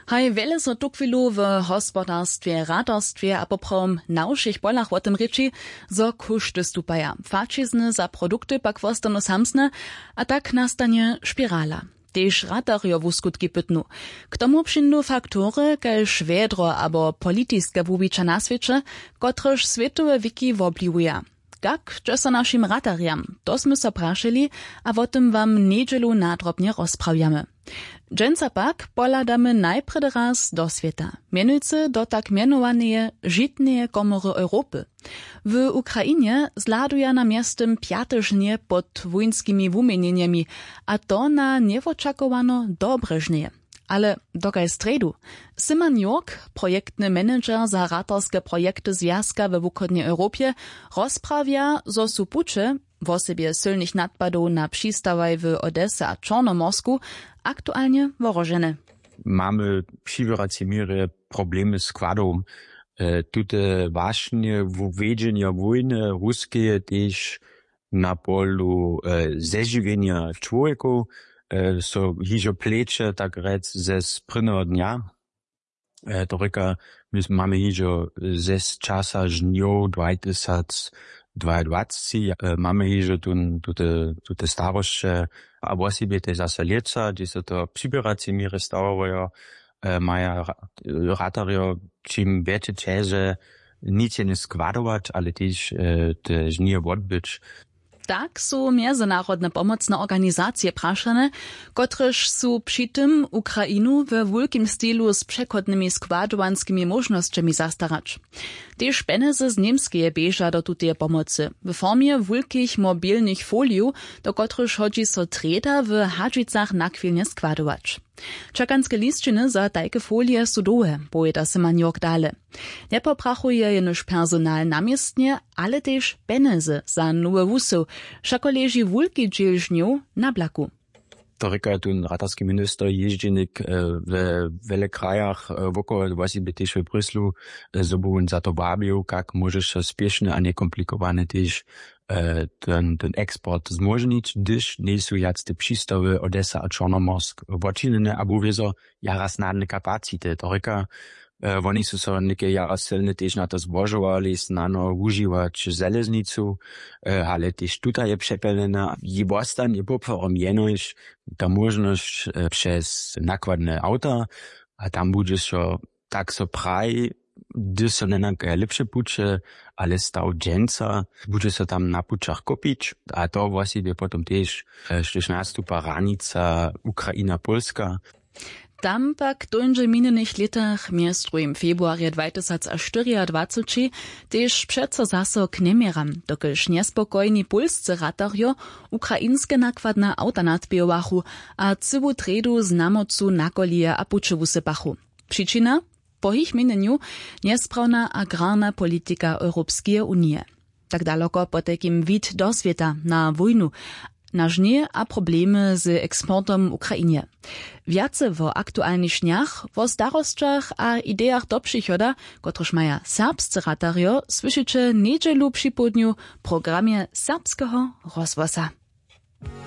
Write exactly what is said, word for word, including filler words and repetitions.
Haj wjele so tuchwilu w hospodarstwje, ratarstwje a poprawom na wšěch polach wo tym rěči, zo kóšty stupaja, faćizny za produkty pak wostanu samsne, a tak nastanje spirala. Tež ratarjo wuskutki pytnu. K tomu přińdu faktory kaž wjedro abo politiske wuwića na swěće, kotrež swětowe wiki wobliwuja. Kak dźe so našim ratarjam? To smy so prašeli, a wo tym wam njedźelu nadrobnje rozprawjamy. Dźensa pak pohladamy najprjedy raz do swěta, mjenujcy do tak mjenowaneje žitneje komory europy. W ukrainje zhladuja na mjeztym pjate žnje pod wójnskimi wuměnjenjemi, a to na njewočakowano dobre žnje. Ale dokaj strjedu? Simon Jork, projektny manager za ratarske projekty zwjazka we wuchodnjej europje, rozprawja zo su puće, wosebje sylnych nadpadow na přistawaj w odese a čornomorsku, aktualnje wohrožene. Mamy při wěracej měrje problemy składow. E, tute wašnje wjedźenja wójny ruskeje tež na polu e, zežiwjenja čłowjekow e, so hižo pleće tak rjec ze sprědneho dnja. E, to rěka, my s- mamy hižo ze z časa žnjow dwajtysac dwajadwacci, e, mamy hižo tun tute tute starosće, a wosebje te zase lětsa hdźež so to přiběracej měrje stawajo, e, maja ra- ratarjo čim wjetše ćeže nic jene składować, ale tež e, te žnije wotbyć. Tak su mjezynarodne pomocne organizacije prašane, kotrež su při tym ukrainu we wulkim stilu z přechodnymi składowanskimi móžnosćemi zastarać. Tež pjenjezy z němskeje běža do tuteje pomocy w formje wulkich mobilnych folijow, do kotrychž hodźi so trjeda w hadźicach nachwilnje składować. Čakanske lisćiny za tajke folije su dołhe, powěda se manjork dale. Njepoprachuje jenož personal na městnje, ale tež pjenjezy za nowy wusył. Wšako leži wulki dźěl žnjow na blaku. To rěka tón ratarski minister jězdźenik we wjele krajach wokoło, wosebje tež w bryslu, zo by wón za to wabił, kak móžeš so spěšny a njekomplikowane tež ten ten eksport zmóžnić, hdyž njejsu wjac te přistawy odesa a čornomorsk wočinjene abo wězo jara snadne kapacity to rěka. Woni su so něke jara sylne tež na to zbožowali snano wužiwać železnicu, ale tež tuta je přepjelnjena. Jej wostanje poprawom jenož ta móžnosć přez nakładne awta, a tam budźe so, tak so praji, hdyž so njenakaja lěpše puće, ale staw dźensa budźe so tam na pućach kopić. A to wosebje potom tež, štož nastupa hranica ukraina pólska. Tam pak dóńdźe w minjenych lětach mjez druhim februarje dwajtysac štyriadwaceći tež přeco zaso k njeměram, dokelž njespokojni pólscy ratarjo ukrainske nakładne awta nadpěhowachu a cyłu trjedu z namocu na kolije a puće wusypachu. Přičina? Po jich měnjenju njesprawnja agrarna politika europskeje unije. Tak daloko potajkim wid do swěta na wójnu, na žnje a problemy z eksportom w ukrainje. Wjace wo aktualnych žnjach, wo starosćach a idejach do přichoda, kotryž maja serbscy ratarjo, słyšiće njedźelu připołdnju w programje serbskeho rozhłosa.